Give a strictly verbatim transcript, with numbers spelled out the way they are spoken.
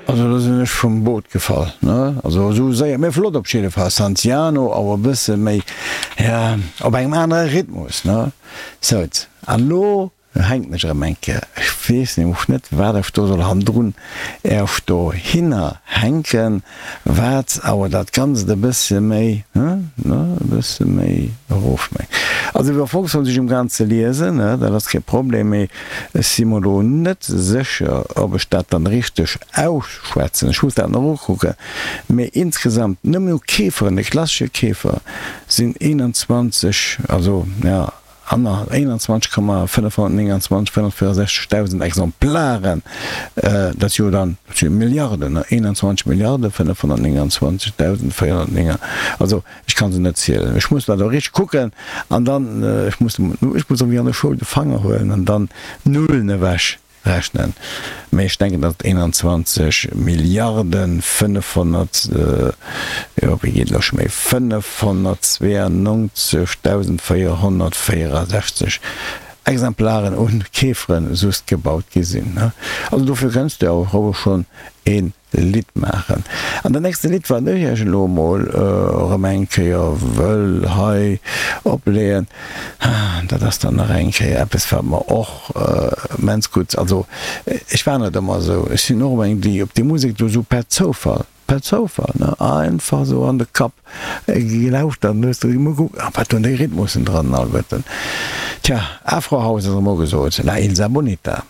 Also do sinn ech vum Boot gefall, ne? Also esou séier, mee flott op jidde Fall. Santiano awer e bësse méi, ja, op engem anere Rhythmus, ne? Souz. An elo hänken ech erëm eng Kéier. Ech weess nämlech net, wat ech do soll hannendrun erf dohinner hänken, wat awer dat Ganzt e bësse méi, ne, ne, e bësse méi erofmécht. Also iwwer Volksfront si ech um Gaang ze liesen, ne, dat ass kee Problem, mee ech si mer elo net sécher, ob ech dat dann richteg ausschwätzen. Ech muss dat nach ukucken. Mee insgesamt, nëmmen u Käferen, de klassesche Käfer, sinn eenanzwanzeg, also, jo, Anner eenanzwanzeg Komma fënnefhonnertnénganzwanzeg fënnefhonnertvierundsechzeg Dausend Exemplaren, dat si jo dann, dat si jo Milliarden, ne, eenanzwanzeg Milliarde fënnefhonnertnénganzwanzeg Dausend véierhonnertnéng, also ech ka se net zielen, ech muss dat och richteg kucken an dann, ech muss, ech muss ewéi an der Schoul de Fanger huelen an dann d'Nullen ewech rechnen, mee ech denken, datt et eenanzwanzeg Milliarden fënnefhonnert, jo, wéi geet elo scho méi, fënnefhonnertzweeënnonzeg Dausend véierhonnertvéierasechzeg Exemplaren un Käferen soust gebaut gi sinn. Also dofir kënns de awer schonn een Lidd maachen. An dat nächste Lidd, wat ech iech elo emol erëm eng Kéier wëll hei opleeën, dat ass dann nach eng Kéier eppes, wat mer och immens gutt, also ech war net ëmmer esou, ech sinn och eng, déi op déi Musek do esou per Zoufall, per Zoufall, ne, einfach esou an de Kapp gelauschtert an hues de emol gekuckt, ah, wat hunn déi Rhythmussen dran alleguerten. Tja, Afro House ass emol gesot, La Isla Bonita.